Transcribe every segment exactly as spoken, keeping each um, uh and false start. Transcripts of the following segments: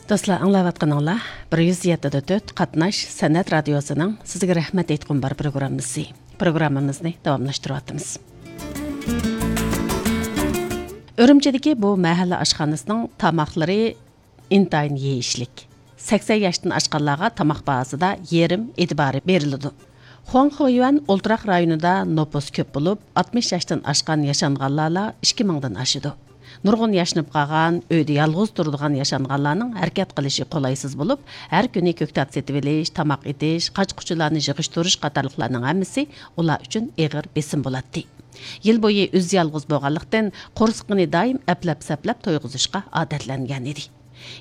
دوستلار، ئاڭلاۋاتقىنىڭلار بىر يۈز يەتتە دە تۆت قاتناش سەنئەت رادىيوسىنىڭ سىزگە رەھمەت ئېيتقۇم بار پروگراممىسى. پروگراممىمىزنى داۋاملاشتۇرۇۋاتىمىز. ئۈرۈمچىدىكى بۇ مەھەللە ئاشخانىسىنىڭ تاماقلىرى ئىنتايىن يېيىشلىك. سەكسەن ياشتىن ئاشقانلارغا تاماق باھاسىدا يېرىم ئېتىبارى بېرىلىدۇ. خۇاڭخېيۈەن ئولتۇراق رايونىدا نوپۇس كۆپ بولۇپ، ئاتمىش ياشتىن ئاشقان ياشانغانلارلا ئىككى مىڭدىن ئاشىدۇ. نۇرغۇن ياشىنىپ قالغان، ئۆيدە يالغۇز تۇرىدىغان ياشانغانلارنىڭ ھەرىكەت قىلىشى قولايسىز بولۇپ، ھەر كۈنى كۆكتات سېتىۋېلىش، تاماق ئېتىش، قاچا-قۇچىلارنى يىغىشتۇرۇش قاتارلىقلارنىڭ ھەممىسى ئۇلار ئۈچۈن ئېغىر بېسىم بولاتتى. يىل بويى ئۆزى يالغۇز بولغانلىقتىن، قورسىقىنى دائىم ئەپلەپ-سەپلەپ تويغۇزۇشقا ئادەتلەنگەن ئىدى.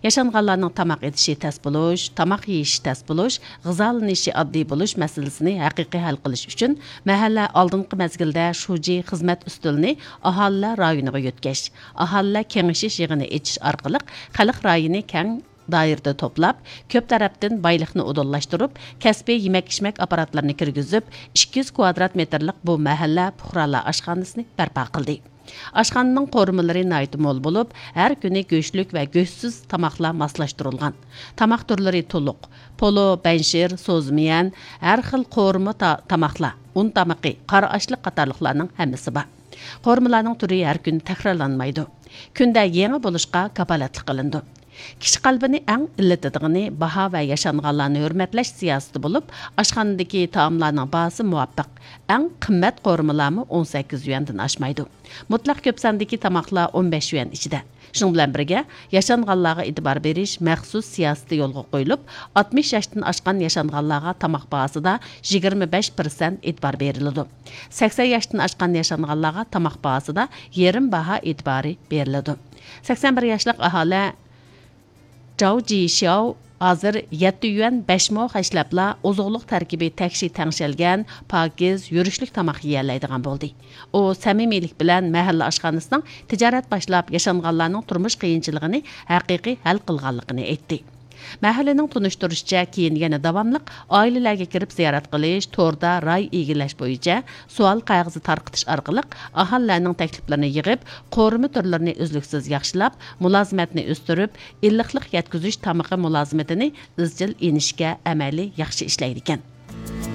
ياشانغانلارنىڭ تاماق ئېتىشى تەس بولۇش، تاماق يېيىشى تەس بولۇش، غىزالىنىشى ئاددىي بولۇش مەسىلىسىنى ھەقىقىي ھەل قىلىش ئۈچۈن، مەھەللە ئالدىنقى مەزگىلدە شۇجى خىزمەت ئۈستىلىنى ئاھالىلەر رايونىغا يۆتكەش، ئاھالىلەر كېڭىشىش يىغىنى ئېچىش ئارقىلىق خەلق رايىنى كەڭ دائىرىدە توپلاپ، كۆپ تەرەپتىن بايلىقنى ئۇدۇللاشتۇرۇپ، كەسپىي يېمەك-ئىچمەك ئاپپاراتلىرىنى كىرگۈزۈپ، ئىككى يۈز كۋادرات مېتىرلىق بۇ مەھەللە پۇقرالار ئاشخانىسىنى بەرپا قىلدى. ئاشخانىنىڭ قورۇمىلىرى ناھايىتى مول بولۇپ، ھەر كۈنى گۆشلۈك ۋە گۆشسىز تاماقلار ماسلاشتۇرۇلغان. تاماق تۈرلىرى تولۇق. پولۇ، بەنشىر، سوزمىيەن، ھەر خىل قورۇما تا-، تاماقلار، ئۇن تامىقى، قارا ئاشلىق قاتارلىقلارنىڭ ھەممىسى بار. قورۇمىلارنىڭ تۈرى ھەر كۈنى تەكرارلانمايدۇ. كۈندە يېڭى بولۇشقا كاپالەتلىك قىلىنىدۇ. كىشى قەلبىنى ئەڭ ئىللىتىدىغىنى باھا ۋە ياشانغانلارنى ھۆرمەتلەش سىياسىتى بولۇپ، ئاشخانىدىكى تائاملارنىڭ باھاسى مۇۋاپىق. ئەڭ قىممەت قورۇمىلارمۇ ئون سەككىز يۈەندىن ئاشمايدۇ. مۇتلەق كۆپ ساندىكى تاماقلار ئون بەش يۈەن ئىچىدە. شۇنىڭ بىلەن بىرگە، ياشانغانلارغا ئېتىبار بېرىش مەخسۇس سىياسىتى يولغا قويۇلۇپ، ئاتمىش ياشتىن ئاشقان ياشانغانلارغا تاماق باھاسىدا يىگىرمە بەش پىرسەنت ئېتىبار بېرىلىدۇ. سەكسەن ياشتىن ئاشقان ياشانغانلارغا تاماق باھاسىدا يېرىم باھا ئېتىبارى بېرىلىدۇ. سەكسەن بىر ياشلىق ئاھالە جاۋ جىشياۋ ھازىر يەتتە يۈەن بەش مو خەجلەپلا ئوزۇقلۇق تەركىبى تەكشى تەڭشەلگەن، پاكىز، يۈرۈشلۈك تاماق يېيەلەيدىغان بولدى. ئۇ سەمىمىيلىك بىلەن مەھەللە ئاشخانىسىنىڭ تىجارەت باشلاپ، ياشانغانلارنىڭ تۇرمۇش قىيىنچىلىقىنى ھەقىقىي ھەل قىلغانلىقىنى ئېيتتى. مەھەللىنىڭ تونۇشتۇرۇشىچە، كېيىن يەنە داۋاملىق ئائىلىلەرگە كىرىپ زىيارەت قىلىش، توردا راي ئىگىلەش بويىچە سوئال قەغىزى تارقىتىش ئارقىلىق ئاھالىلەرنىڭ تەكلىپلىرىنى يىغىپ، قورۇما تۈرلىرىنى ئۈزلۈكسىز ياخشىلاپ، مۇلازىمەتنى ئۆستۈرۈپ، ئىللىقلىق يەتكۈزۈش تامىقى مۇلازىمىتىنى ئىزچىل ئېلىشكە ئەمەلىي ياخشى ئىشلەيدىكەن.